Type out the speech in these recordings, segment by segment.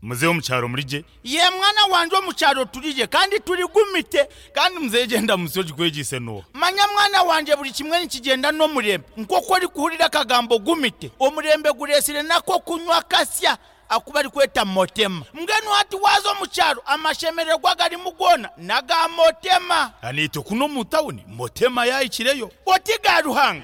Muzeeyi omu kyaro muri gye? Yee mwana wangye omu kyaro turi gye kandi turi gumite. Kandi muzeeyi gyenda musyo ogikwegyeise n'oha? Manya mwana wangye buri kimwe nikigyenda n'omurembe. Nk'oku orikuhurira akagambo gumite, omurembe gureetsire n'ak'okunywa kasya aku barikweta motema. Mbwenu hati waaza omu kyaro amashemererwa agarimu goona n'aga motema. Naitwe kunu omu tawuni motema yaahikireyo. Oti ga Ruhanga.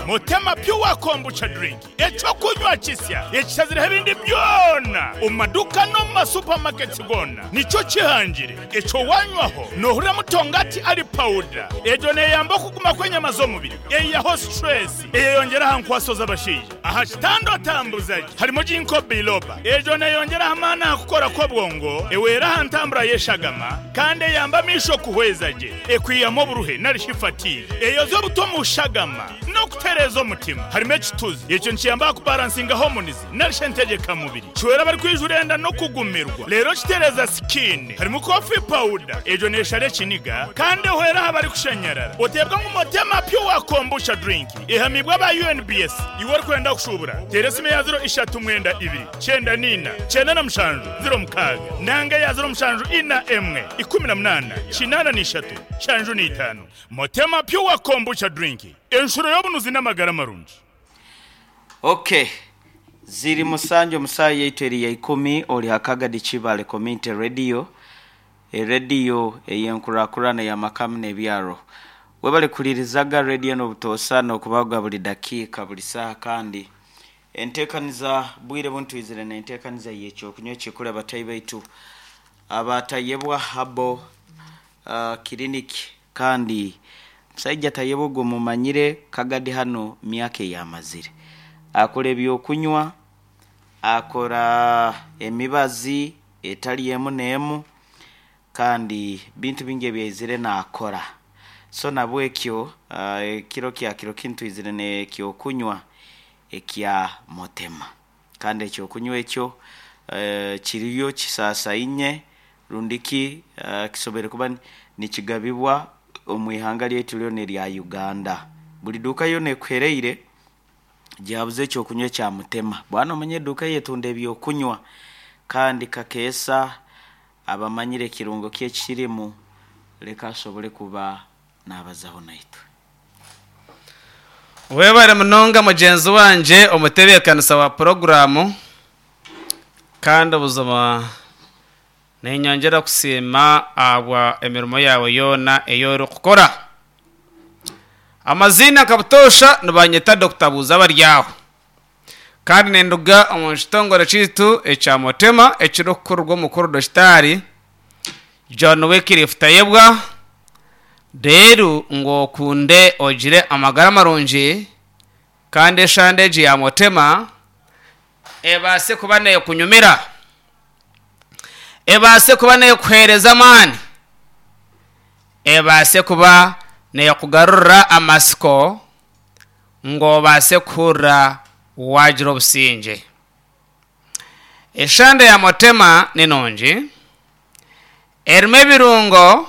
Motema Pure Kombucha Drink, eky'okunywa kisya ekishazireho ebindi byona omu maduuka n'omu ma supermarkets goona nikyo kihangire. Ekyo wanywaho nohuriramu tongati ali powder. Egyo neyamba okuguma kw'enyama z'omubiri, eyihaho stress, eyeyongyera aha nkwaso z'abashaija. Aha kitanda otambuza gye harimu Ginkgo biloba. Egyo neyongyera aha maani aha kukora kw'obwongo, ehwera aha ntambura y'eshagama kandi eyamba amaisho kuhweza gye. Ekwihamu oburuhe nari shi fatigue. Eyozya obuta omu shagama n'okutereeza omutima. Harimu ekituzi. Ekyo nikiyamba aha kubaransinga hormones nari shi entegyeka mubiri. Kihwera abarikwijura enda n'okugumirwa. Reero kitereeza skin. Harimu coffee powder. Egyo neeshara ekiniga kandi ehwera aha barikushanyarara. Oteebwa ngu Motema Pure Kombucha Drink ehamiibwe aba UNBS. Iwe orikwenda kushuubura, teera esimu eya ziro ishatu mwenda ibiri, kyenda n'ina, kyenda na mushanju, ziro mukaaga, nanga eya ziro mushanju ina emwe, ikumi na munaana, kinaana na ishatu, nshanju na itaano. Motema Pure Kombucha Drink, enshuro y'obunuzi n'amagara marungi. Ok ziri musanju omu saaha yaitu eri ya ikumi ori ha Kagadi Kibale Community Radio, erediyo ey'enkurakurana ey'amaka n'ebyaro. Webale kuhuririzaga rediyo enu obutoosa n'okubaho buri dakiika buri saaha kandi enteekaniza bwire bunu twizire n'enteekaniza y'ekyokunywa ekikuru abatahi baitu aba Tayebwa Herbal Clinic Kandi musaija Tayebwa ogwo mumanyire Kagadi hanu myaka eyamazire. Akora ebyokunywa, akora emibazi etali emu n'emu kandi bintu bingi ebyaizire nakora. So nabwekyo ekiro kya kiro kinu twizire n'ekyokunywa ekya Motema. Kandi eky'okunywa ekyo kiriyo kisaasaine rundi ki kisoboire kuba nikigabibwa omu ihanga lyaitu ryona erya Uganda. Buri duuka yoona ekuhereire gyabuza eky'okunywa ekya Mutema. Bwana omanye eduuka eyetunda eby'okunywa kandi kakeesa abamanyire ekirungo ki ekirimu leka asobole kuba naabazaho naitwe. Webare munonga mugyenzi wangye omutebeekanisa wa puroguraamu kandi buzima ninyongyera kusiima ahabwa emirimo yaawe yoona ei orikukora. Amaziina nka butoosha nibanyeta Dokita Buuza Baryaho kandi ninduga omu kitongore kyaitu ekya Motema ekirikukurirwa omukuru Dokitaari John Wycliffe Tayebwa, reero ngu okunde ogire amagara marungi kandi eshande egi ya Motema ebaase kuba neekunyumira, ebaase kuba neekuheereza amaani, ebaase kuba neekugarurira amatsiko ngu obaase kuhurira waagira obusingye. Eshande ya Motema ni nungi, erimu ebirungo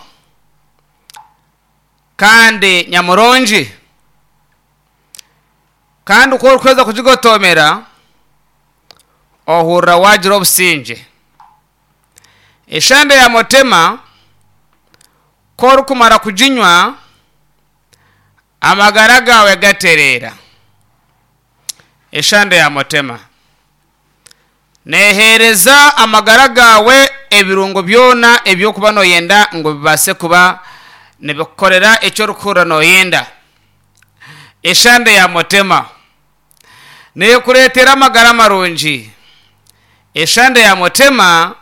kandi nyamurungi. Kandi ku orikuheza kugigotomera, ohurira waagira obusingye. Eshande ya Motema ku orikumara kuginywa, amagara gaawe gatereera. Eshande ya Motema neeheereza amagara gaawe ebirungo byona ebi orikuba nooyenda ngu bibaase kuba nibikukorera eki orikuhurira nooyenda. Eshande ya Motema neekureetera amagara marungi. Eshande ya Motema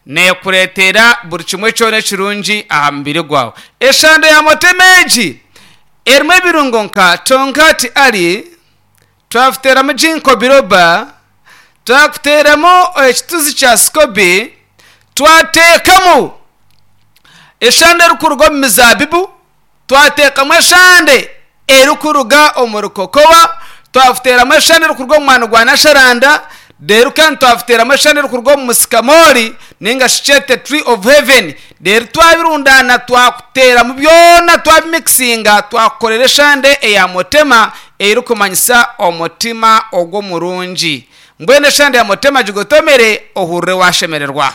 neekureetera buri kimwe kyona ekirungi aha mubiri gwawe. Eshande ya Motema egi erimu ebirungo nka Tonkat Ali, twakuteeramu Ginkgo biloba, twakuteeramu ekituzi kya sikobi, twateekamu eshande erikuruga omu mizaabibu, twateekamu eshande erikuruga omuri kokowa, twakuteeramu eshande erikuruga omu mwani gwa nasharanda. Reero kandi twabiteeramu eshande erikuruga omu musikamoori nainga shi kyete tree of heaven. Reero twabirundaana twakuteeramu byona twabimikisinga twakukorera eshande eya motema erikumanyisa omutima ogw'omurungi. Mbwenu eshande ya motema gigotomere ohurire waashemererwa.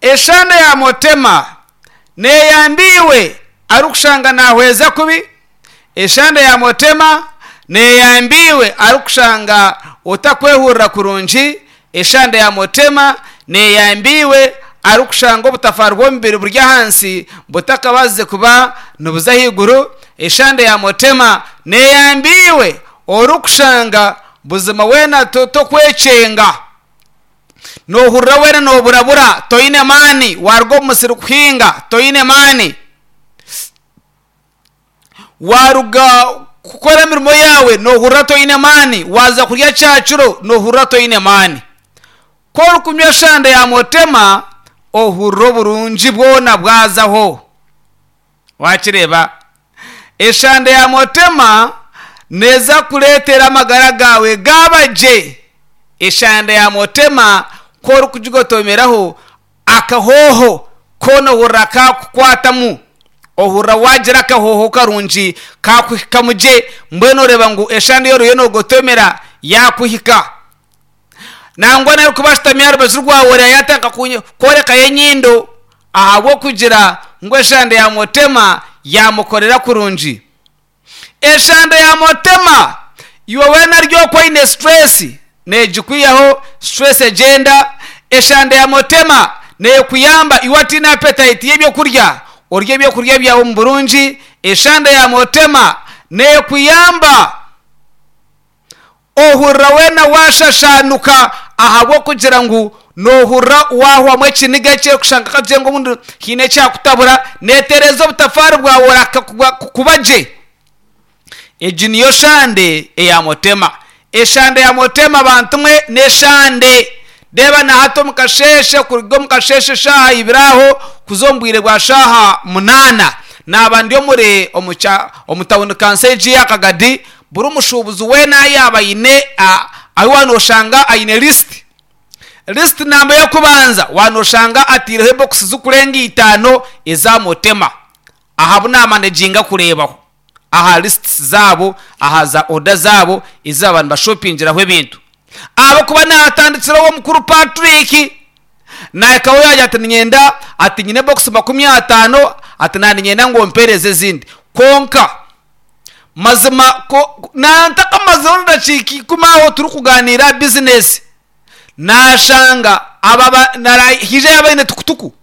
Eshande ya Motema neyamba iwe arikushanga nahweza kubi, eshande ya Motema neyamba iwe arikushanga otakwehurira kurungi, eshande ya Motema neyamba iwe arikushanga obutafaari bw'omubiri buri ahansi butakabaasize kuba nibuza ahaiguru, eshande ya Motema neyamba iwe orikushanga buzima weena tokwekyenga. Noohurira weena nooburabura, toine maani, waaruga omu musiri kuhinga, toine maani, waaruga kukora emirimo yaawe, noohurira toine maani, waaza kurya kyakiro, noohurira toine maani. Ku orikunywa eshande ya motema, ohurira oburungi bwona bwazaho. Waakireeba? Eshande ya motema neeza kureetera amagara gaawe gaaba gye. Eshande ya motema ku orikugigotomeraho, akahooho koona ohurira kaakukwatamu. Ohurira waagira akahooho karungi kaakuhikamu gye, mbwenu oreeba ngu eshande ei oriyo noogotomera yaakuhika. Nangwa n'orikuba ashutami aha rubaju rwawe oreeba yaatandika kworekayo enyindo ahabw'okugira ngu eshande ya motema yaamukorera kurungi. Eshande ya motema iwe weena ari okwo oine situreesi neegikwihaho, situreesi egyenda. Eshande ya motema neekuyamba iwe otaine apetayiti y'ebyokurya, orye ebyokurya byawe omu burungi. Eshande ya motema neekuyamba. Ohurira weena waashashaanuka ahabw'okugira ngu noohurira waahwamu ekiniga ekirikushanga kakye ngu obundi haine ekyakutabura, neetereeza obutafaari bwawe orahika kuba gye. Egi niyo shande eya Motema. Eshande ya Motema bantu mwe n'eshande. Reeba na hati omu kasheeshe kuruga omu kasheeshe eshaaha ibiri aho kuza omu bwire bwa shaaha munaana naaba ndi omuri omu tawuni kanso egi eya Kagadi. Buri mushuubuzi weena yaaba aine ahu waaba nooshanga aine lisiti. Lisiti namba y'okubanza waaba nooshanga ataireho ebokisi zirikurenga itaano eza Motema aha bu naamaneginga kureebaho aha lisiti zaabo aha za oda zaabo ezi baaba nibashopingiraho ebintu. Ahabw'okuba naatandikireho omukuru Patrick naahikaho yaagira ati niinyenda ati nyine ebokisi 50 ati naaba niinyenda ngu ompeereze ezindi kwonka Mazima ko ntakamazire edakiika ikumi aho turikuganiira aha bizinesi, naashanga aba haija yaaba aine tukutuku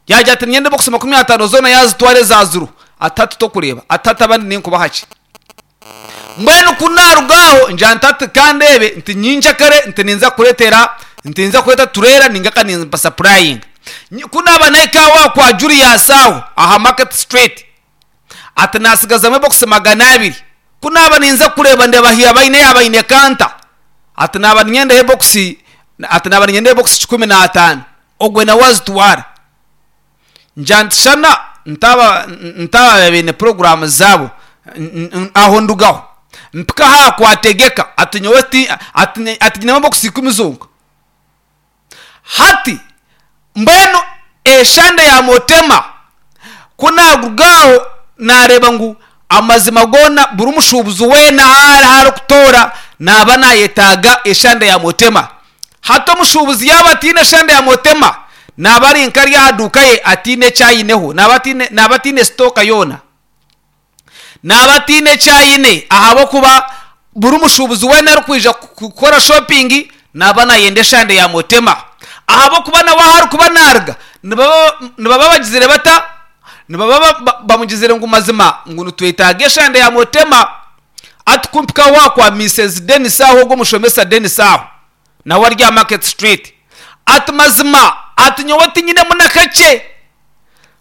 yaagira ati niinyenda ebokisi 50 zoona yaazitwara eza ziro ati hati tokureeba ati hati abandi ninkubaha ki? Mbwenu ku naaruga aho ngira nti hati ka ndeebe nti nyenkyakare nti ninza kukureetera nti ninza kureeta tureera nainga ka nimbasapurayinga. Ku naaba nahika aho kwa Julius aho aha Market Street, Ati naatsigazamu ebokisi 200. Ku naaba ninza kureeba ndeeba ahi baine yaaba aine kanta. Ati naaba ninyendaho ebokisi ati naaba ninyendaho ebokisi 15. Ogwe nawe azitwara. Ngira nti shana ntaaba ntaaba baine puroguraamu zaabo aho ndugaho. Mpika aha kwategeka ati nyowe ti ati ati nyinemu ebokisi ikumi zonka. Hati mbwenu eshande ya Motema ku naaruga aho naareeba ngu amazima goona buri mushuubuzi weena ahu arikutoora naaba naayetaaga eshande ya Motema. Hati omushuubuzi yaaba ataine shande ya Motema naaba ari nk'ari aha duuka ye ataine eki aineho, naaba ataine sitooka yoona. Naaba ataine eki aine ahabw'okuba buri mushuubuzi weena arikwija kukora shopingi naaba naayenda eshande ya Motema ahabw'okuba nawe ahu arikuba naaruga nibaba bagizire bata? Nibaba bamugizire ngu mazima ngu nitwetaaga eshande ya Motema. Hati ku mpika aho kwa Mises Denis aho ogwo omushomesa Denis aho nawe ari aha Market Street ati mazima ati nyowe tinyinemu na kakye.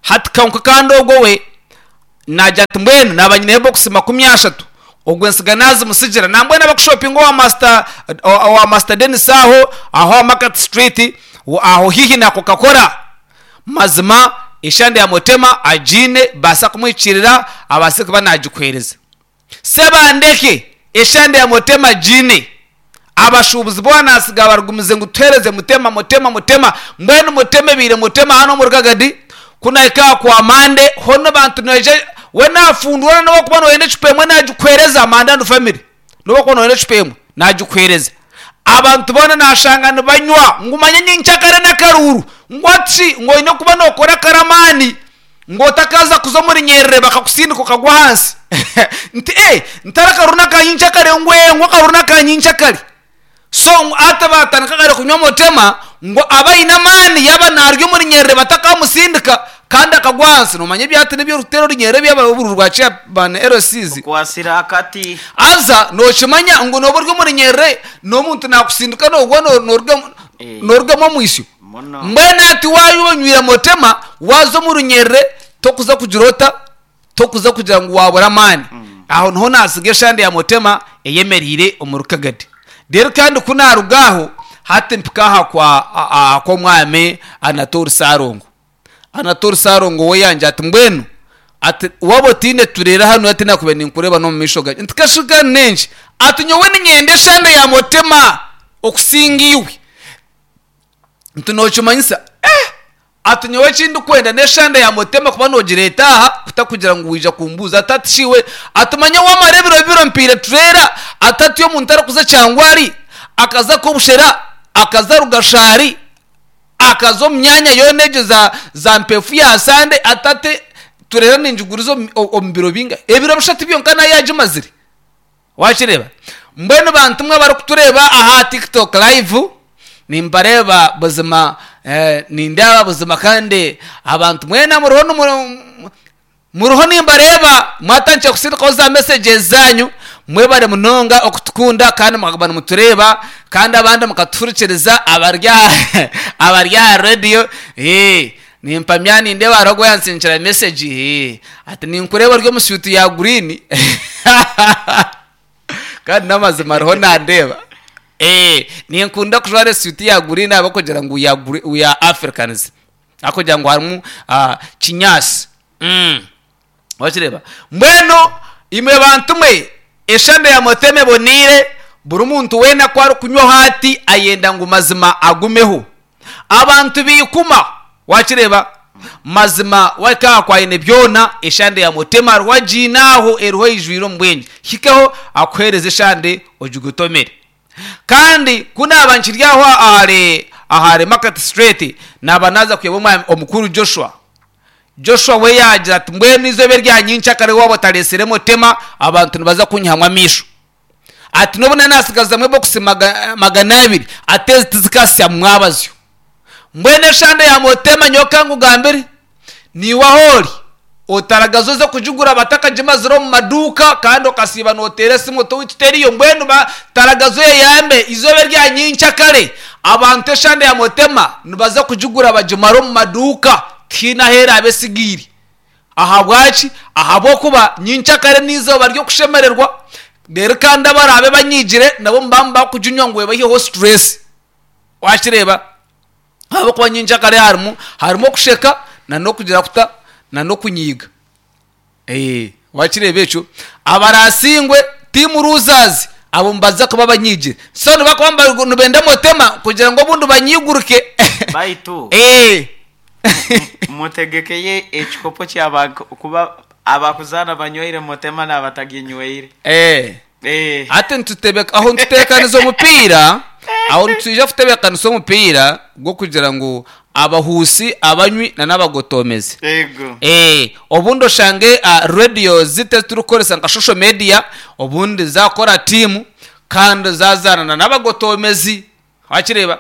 Hati kwonka kandi ogwo we naagira ati mbwenu naaba nyineho ebokisi 30, ogwo entsiga naazimutsigira. Nambwenu abakushopinga owa Master owa Master Denis aho, aho aha Market Street, aho haihi na Coca-Cola. Mazima eshande ya Motema agiine, baasa kumuhikiirira abaase kuba naagikuheereza. Sebandeke! Eshande ya Mutema giine. Abashuubuzi boona naatsiga barigumize ngu tuheereze Mutema, Mutema, Mutema. Mbwenu Mutema ebaire Mutema hanu omuri Kagadi. Ku naahika aha kwa Mande, hoona abantu nibaija, we naafundura n'obu orikuba nooyenda ecupa emwe naagikuheereza, Mande and family. N'obu orikuba nooyenda ecupa emwe, naagikuheereza. Abantu boona naashanga nibanywa, ngu manya nyenkyakare n'akaruuru. Ngu hati shi, ngu oine kuba nookora akaramaani. Ngu otakaza kuza omuri nyerere bakakusindika okagwa ahansi. Nti eh, ntari akaruru n'akanyinkya kare ngu eh, ngu akaruru n'akanyinkya kare. So ngu ati batandika kare kunywa mutema ngu abe aine amaani yaaba naarya omuri nyerere batakamusindika kandi akagwa ahansi. Noomanya ebyati n'eby'orikuteera orunyerere ebyaba obururu bwa chairman LCs. Okwasire akati. Haza nookimanya ngu nooba ori omuri nyerere n'omuntu naakusindika noogwa noorugamu noorugamu omwisyo. Muno. Mbwenu hati waaba onywire motema, waaza omu runyerere, tokuza kugira ota? Tokuza kugira ngu waabura amaani. Aho niho naatsiga eshande ya motema eyemereire omu Rukagadi. Reero kandi ku naaruga aho, hati mpika aha kwa aha kw'omwami Anatoli Ssalongo. Anatoli Ssalongo we yangira ati mbwenu ati waaba otaine tureere hanu hati naakubaire ninkureeba n'omu maisho gangye. Nti kashuka n'enki? Ati nyowe niinyenda eshande ya motema okusinga iwe. Nti nokimanyisa eh! Ati nyowe eki ndikwenda n'eshande ya mutema kuba nogireeta aha kutakugira ngu waija kumbuuza. Ati ati shi iwe? Ati manya wamara ebiro bibiri ompaire tureera. Ati ati omuntu arikuza Kyangwari, akaza Kobushera, akaza Rugashari, akaza omu myanya yoona egyo za za Mpefu ya Sande, ati ati tureera ningiguriza omu biro bingahi? Ebiro bishatu byonka nayo yagimazire. Wakireeba? Mbwenu bantu mwe abarikutureeba aha TikTok live, nimbareeba buzima eh, nindeeba buzima kandi abantu mwena muriho nimu- muriho nimbareeba mwatandikire kusindikaho za messages zanyu mwebare munonga okutukunda kandi mukaguma nimutureeba kandi abandi mukatuhurikiriza abari aha abari aha radio eh, Nimpamya nindeeba hariho ogwo oyantsindikira message hee ati ninkureeba ori omu suit ya green kandi n'amazima ariho nandeeba eh ninkunda kujwara esuit ya green ahabw'okugira ngu we are gre we are Africans ahabw'okugira ngu harimu kinyaasi mm. Wakireeba? Mbwenu imwe bantu mwe, eshande ya Mutema eboneire, buri muntu weena ku arikunywaho ati ayenda ngu mazima agumeho. Abantu baikuma. Wakireeba? Mazima wahika aha kwa Ainebyona, eshande ya Mutema hariho agiine aho eriho eijwire omu bwengye. Hikaho akuheereze eshande ogigutomere. Kandi ku naaba nkiri aho ahari ahari Market Street, naaba naaza kureeba omwami omukuru Joshua. Joshua we yaagira ati, Mbwenu eizooba erya nyenkyakare waaba otareetsire mutema, abantu nibaza kunyihamu amaisho. Ati, N'obu naanaatsigazamu ebokisi 200, ati ezi tizikaasya mwabazyo. Mbwenu eshande ya mutema nyowe ka nkugambire, naiwe ahu ori, otaragaza oze kugigura batakagimazire omu maduuka kandi okasiiba nooteera esimu oti owaitu teriyo. Mbwenu taragaza oyeyambe, eizooba erya nyenkyakare abantu eshande ya mutema nibaza kugigura bagimare omu maduuka. Tihaine ahu eraabe etsigaire. Ahabwaki? Ahabw'okuba nyenkyakare n'eizooba ry'okushemererwa, reero kandi abaraabe banyiigire nabo nibaba nibakuginywa ngu ebaiheho stress. Wakireeba? Ahabw'okuba nyenkyakare harimu harimu okusheka n'okugira kuta n'okunyiiga. Wakireeba ekyo? Abaraasingwe, team losers, abo nibaza kuba banyiigire. So nibakuba nibenda motema kugira ngu obundi banyiiguruke. Baitu mutegekeye ekikopo kya kuba abakuzaana banywaire motema n'abataginywaire. Hati nitutebeka aho nituteekanisa omupiira, aho nitwija kutebeekanisa omupiira gw'okugira ngu abahuusi, abanywi na n'abagotoomezi. Ego. Eh, obundi oshange ah, radios zitu ezi turikukoresa nka social media obundi zaakora tiimu kandi zaazaana na n'abagotoomezi. Wakireeba?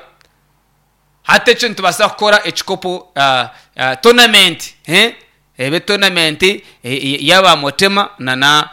Hati ekyo nitubaasa kukora ekikopo ah, ah, tournament eh? Ebe tournament y'aba Motema na na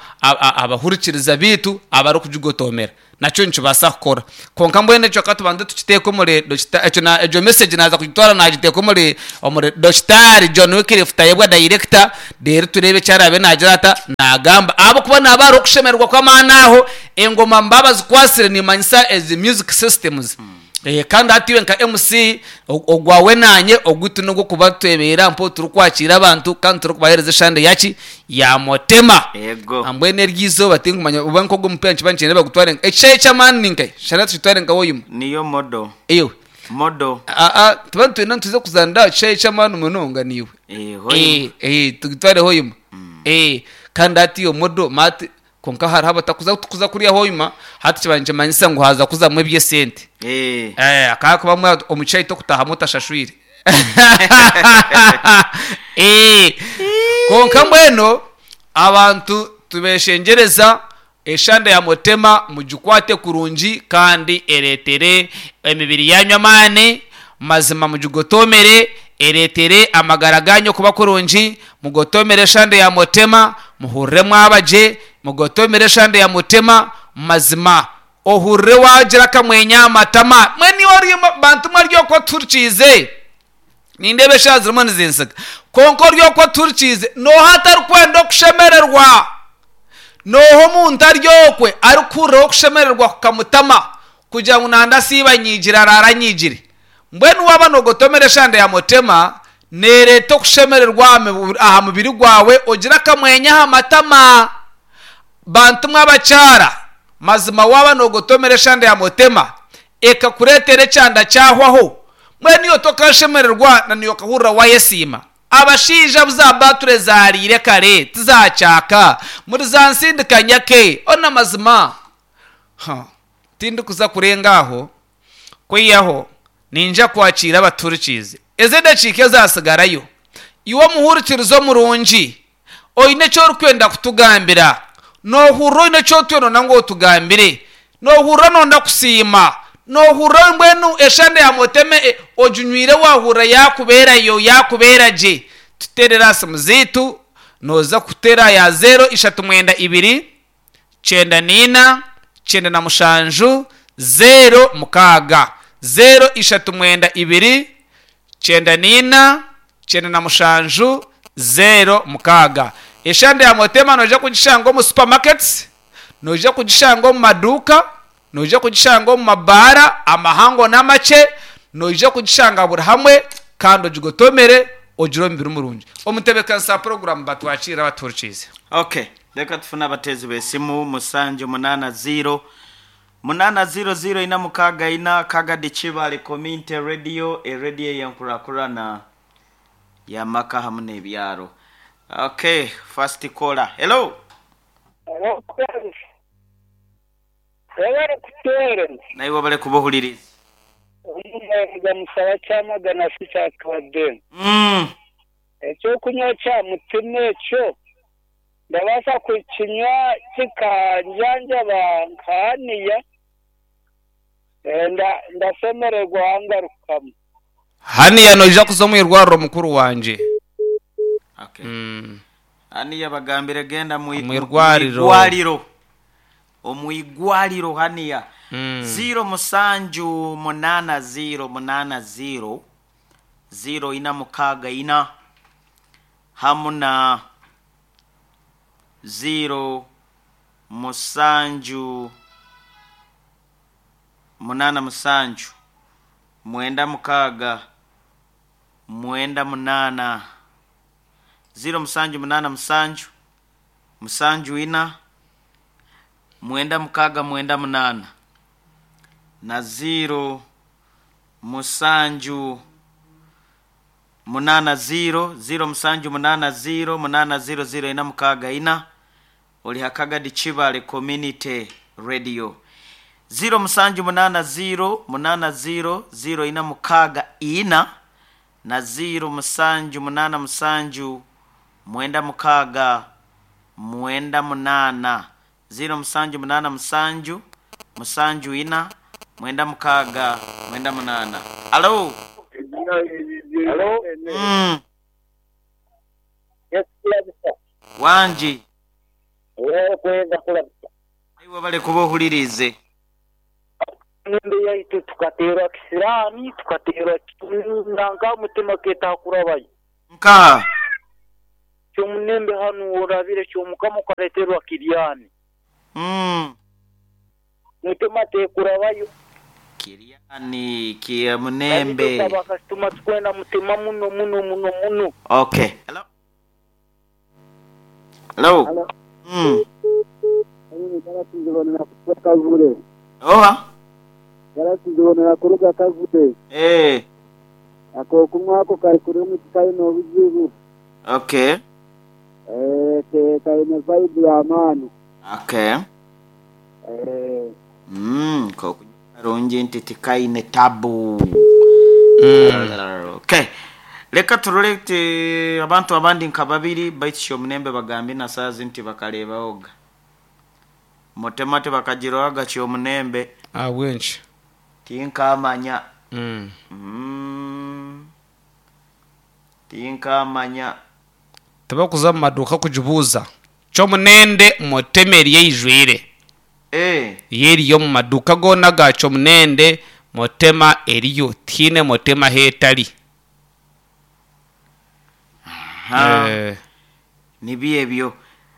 abahurikiriza baitu abarikugigotoomera. Nakyo nikibaasa kukora. Kwonka mbwenu ekyo ka tubanze tukiteeke omuri dokita ekyo na egyo message naaza kugitwara naagiteeka omuri omuri Dokitaari John Wycliffe Tayebwa dayirekita, reero tureebe eki araabe naagira ata, naagamba. Ahabw'okuba naaba hariho okushemererwa kw'amaani aho, engoma nibaba bazikwatsire niimanyisa ezi music systems. Eh, kandi hati iwe nka MC ogwawe nanye ogwitu nogw'okuba twebeera mpo turikwakiira abantu kandi turikubaheereza eshande yaki ya motema. Ego. Mbwenu eryo izooba tinkumanya oba nk'ogwo omupiira nikiba nikyenda bagutware nka ekishaayi ky'amaani ni nkahi? Shana tukitware nka Hoima. Niyo modo. Ewe. Modo. Aa tuba nitwenda nituza kuzaanira aha kishaayi ky'amaani munonga niiwe. Eh, Hoima. Eh, eh, tugitware Hoima. Eh, kandi hati iyo modo maati Kwonka hariho abatakuza kuza kuriya Hoima, hati kiba nikimanyisa ngu haaza kuzamu eby'esente. Eh. Eh, akaba kuba omu kishaayi tokutahamu otashashwire. Eh, kwonka mbwenu abantu tubeshengyereza eshande ya Mutema mugikwate kurungi kandi ereetere emibiri yanyu amaani, mazima mugigotoomere ereetere amagara gaanyu okuba kurungi, mugotoomere eshande ya Mutema, Muhurire mwaba gye, mugotomere eshande ya mutima, mazima ohurire waagira akamwenyo aha matama. Mbwenu iwe ori bantu mwe ori okwo otuhurikiize, nindeeba eshaaha zirimu nizinsiga, kwonka ori okwo otuhurikiize, nooha atarikwenda okushemererwa? Nooha omuntu ari okwe arikuhuriraho okushemererwa kukamutama kugira ngu nanda asiibe anyiigire araare anyiigire? Mbwenu waaba noogotomera eshande ya mutema, neereeta okushemererwa aha mubiri gwawe, ogira akamwenyo aha matama. Bantu mwe abakyara, mazima waaba noogotomera eshande ya mutema, ekakureetera ekyanda kyahwaho, mbwenu iwe tokaashemererwa na naiwe okahurira waayesiima? Abashaija abu za baature zaariire kare tizaakyaka, muri za nsindikanyake. Ona mazima! Ha, tindikuza kurenga aho. Kwihaho, ninja kwakiira abatuhurikiize. Ezi edakiika ezaatsigarayo, iwe omuhurikiriza omurungi, oine eki orikwenda kutugambira? Noohurira oine eki otwire nonda ngu otugambire? Noohurira nonda kusiima? Noohurira mbwenu eshande ya mutema oginywire waahurira yaakubeerayo, yaakubeera gye? Tuteerere aha simu zaitu, nooza kuteera aha ya zeero ishatu mwenda ibiri, kyenda na ina, kyenda na mushanju, zeero mukaaga. Zeero ishatu mwenda ibiri, kyenda na ina, kyenda na mushanju, zeero mukaaga. Eshande ya Motema noija kugishanga omu supermarkets, noija kugishanga omu maduuka, noija kugishanga omu mabaara amahango n'amakye, noija kugishanga buri hamwe kandi ogigotomere ogire omubiri murungi. Omutebeekanisa wa puroguraamu batwakiire abatuhurikiize. Okay, reka tufune abateezi b'esimu musanju munaana ziiro munaana ziiro ziiro ina mukaaga ina Kagadi Kibale Community Radio, erediyo ey'enkurakurana y'amaka hamu n'ebyaro. Okay, first caller. Hello. Hello Collins. Webale kutuweereza. Naiwe webale kuba ohuririize. Omuheereza musaba kyamagana si kyatuwadde. Eky'okunywa kya mutima ekyo ndabaasa kukinywa kikanjanjaba nkahaniya? Ndashemererwa wangarukamu. Haniya noija kuza omu irwariro mukuru wangye. Okay. Haniya bagambire genda mu Omu irwariro. Omwigwariro. Omwigwariro haniya. Ziiro musanju munaana ziiro munaana ziiro ziiro ina mukaaga ina hamu na ziiro musanju munaana musanju mwenda mukaaga mwenda munaana ziiro musanju munaana musanju musanju ina mwenda mukaaga mwenda munaana na ziiro musanju munaana ziiro ziiro musanju munaana ziiro munaana ziiro ziiro ina mukaaga ina ori ha Kagadi Kibale Community Radio. Ziiro musanju munaana ziiro munaana ziiro ziiro ina mukaaga ina na ziiro musanju munaana musanju mwenda mukaaga mwenda munaana. Ziiro musanju munaana musanju musanju ina mwenda mukaaga mwenda munaana. Alo! Alo? Yes, kulabisa. Wangi. Wewe kwenda kulabisa. Iwe webale kuba ohuririize. Emyenda yaitu tukateerwa kisiraani, tukateerwa nanka omutima ketakurabayo. Nkaha? Ky'omunembe hanu orabire ky'omukama okareeterwa kiryani. Mutima tekurabayo. Kiriani Kyamunembe. Kandi itwe bakasitoma tukwenda mutema muno muno muno muno. Okay. Hello. Hello. Halo. Mm. Oha. Garasi kuruga Kavule. Eh. Akokunywa ako kari kurungi tikaine obuzibu. Okay. Eh, kaine vibe y'amaani. Okay. Eh, Kokunywa karungi nti tikaine tabu. Okay. Leka turole ti abantu abandi nka babiri baitu Kyomunembe bagambi na saazi nti bakarebaoga. Mutema tibakagiroaga Kyomunembe Ahabw'enki? tinkamanya. Tinkamanya. Tibakuza mu maduuka kugibuuza. Kyomunende mutema eriyo eijwire. Eh. Yo eriyo omu maduuka goona ga Kyomunende mutema eriyo. Tihaine mutema ahu etari. Ha. Eh, Nibi ebyo.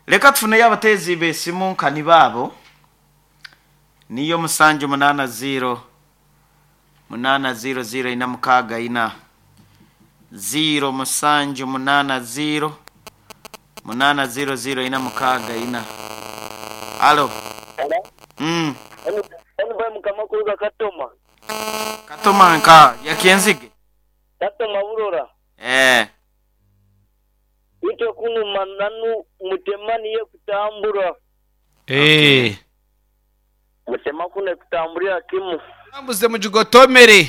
Leka tufuneyo abateezi b'esimu nkani baabo. Niyo musanju 80 8 0 0 4 6 4 0 7 8 0 8 0 0 4 6 4. Alo. Enu mukama kuruga Katoma. Katoma nka yakenzige. Katoma burora. Eh. Itwe kunu mananu mutema niye kutambura. Eh. Mutema kune kutamburira kimu. Tambuze mugigotomere.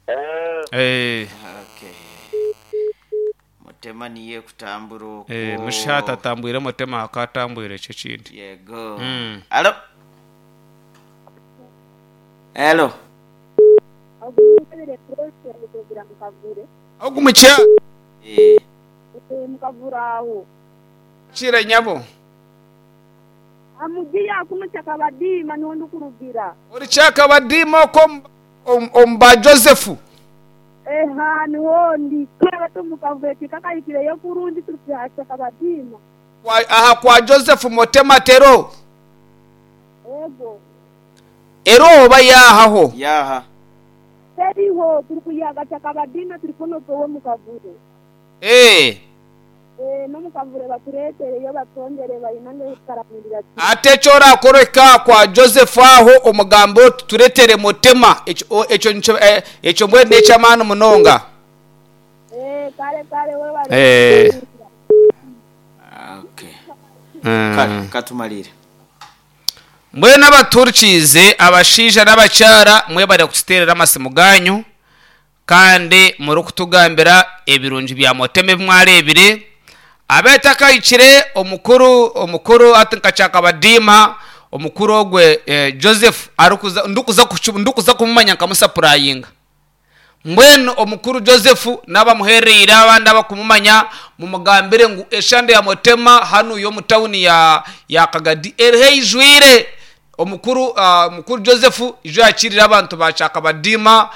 Eh. Eh. Okay. Mutema niye kutambura okwo. Eh, mushata atambwire mutema akatambwire ekyo ekindi. Yego. Mm. Alo. Hello. Ogumukya Eh. Mukavura aho. kira nyabo. Amugiya kuno kyakabadiima niho ndikurugira. Ori kyakabadiima okwo omu ba Joseph. Eha niho ndi twaba mukavure tikakahikireyo kurungi turi kyakabadiima. Aha kwa Joseph Mutema Tero. Ego. Ero oba yahaho. Yaha. Teriho turi kuyaga kyakabadiima turi kunotowe mukavure. Eh. Eh, n'omukavure batureetereyo batwongere bayinange kukaramirira. Ate ekyo orakoreka kwa Joseph aho omugambo oti tureetere Mutema ekyo ekyo ekyo mbwenu n'eky'amaani munonga. Eh, kare kare we bari. Eh. Okay. Kale katumalire. Mbwenu abaturikiize abashaija n'abakyara mwebare kututeerera amasimu ganyu kandi murikutugambira ebirungi bya Mutema ebi mwareebire. Abeetakahikire omukuru omukuru ati nka Kyakabadiima omukuru ogwe eh, Joseph arikuza ndikuza ndikuza kumumanya nkamusapurayinga. Mbwenu omukuru Joseph n'abamuhereire abandi abakumumanya mumugambire ngu eshande ya Mutema hanu y'omu tawuni ya ya Kagadi eriho eijwire. Omukuru omukuru Joseph ijo yakirire abantu ba Kyakabadiima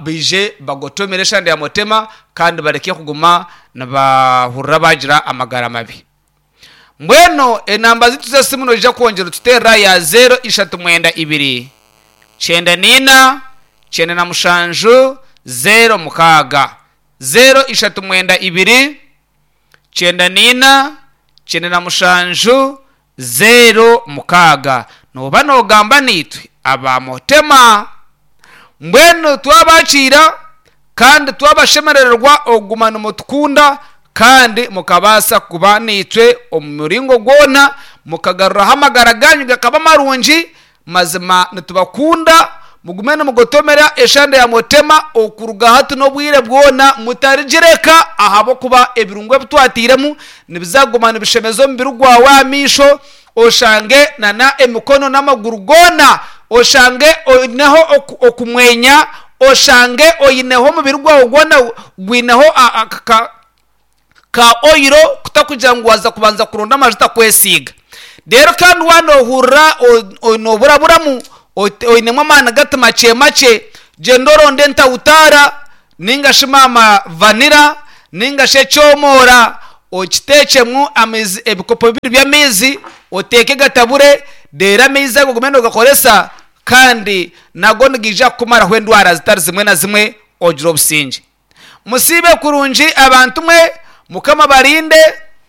baije bagotomere eshande ya Mutema kandi bareke kuguma nibahurira bagira amagara mabi. Mbwenu enamba zitu z'esimu noija kwongyera otuteerera ya 0 ishatu mwenda ibiri 94 97 06 0 ishatu mwenda ibiri 94 97 06. Noba nogamba niitwe aba Mutema. Mbwenu twabakiira kandi twabashemerererwa okuguma nimutukunda kandi mukabaasa kuba niitwe omu muringo gwona mukagaruraho amagara ganyu gakaba marungi. Mazima nitubakunda mugume nimugotomera eshande ya Mutema okuruga hati n'obwire bwona mutarigireka ahabw'okuba ebirungo ebi twatiiremu nibizaguma nibishemeza omubiri gwawe aha maisho oshange nana emikono n'amaguru goona oshange oineho okumwenya oshange oineho omubiri gwawe gwona gwineho ka oyiro kutakugira ngu waza kubanza kuronda amajuta kwesiiga. Reero kandi waanohurira nooburaburamu oinemu amaani gati makye makye gyenda oronde entawutaara ninga shi maama vanira ninga shi ekyomoora okiteekyemu amaizi ebikopo bibiri by'amaizi oteeke gatabure reero amaizi ago ogume noogakoresa Kandi nago nigaija kukumaraho endwara zitari zimwe na zimwe ogire obusingye. Musiibe kurungi abantu mwe, Mukama abarinde,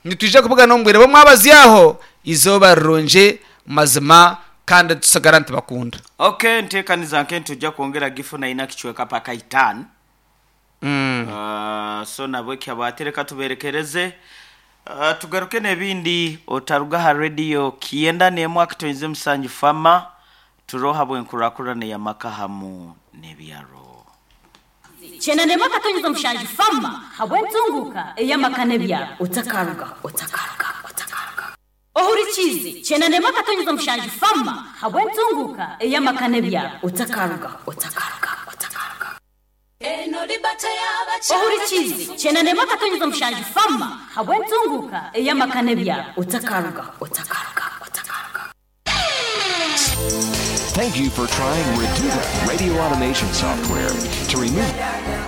nitwija kubugana omu bwire bw'omwabazyo aho, eizooba rirungi mazima kandi tusigara nitubakunda. Ok ntekaniza nke nitujja kwongera gifuna ina kicweka paka itano. So nabweki habwati reka tuberekereze tugaruke nebindi otaruga aha radio kiyenda nemu akatoize musanju fama turoho habwenkurakurana eyamaka hamu nebyaro. Kyenda n'emwe akatonyeza omushanju Fama habw'entunguuka ey'amaka n'ebyaro. Otakarugaho, otakarugaho, otakarugaho. Ohurikiize Kyenda n'emwe akatonyeza omushanju Fama habw'entunguuka ey'amaka n'ebyaro. Otakarugaho, otakarugaho, otakarugaho. Ohurikiize Kyenda n'emwe akatonyeza omushanju Fama habw'entunguuka ey'amaka n'ebyaro. Otakarugaho, otakarugaho, otakarugaho. Thank you for trying Reduta radio automation software to remove.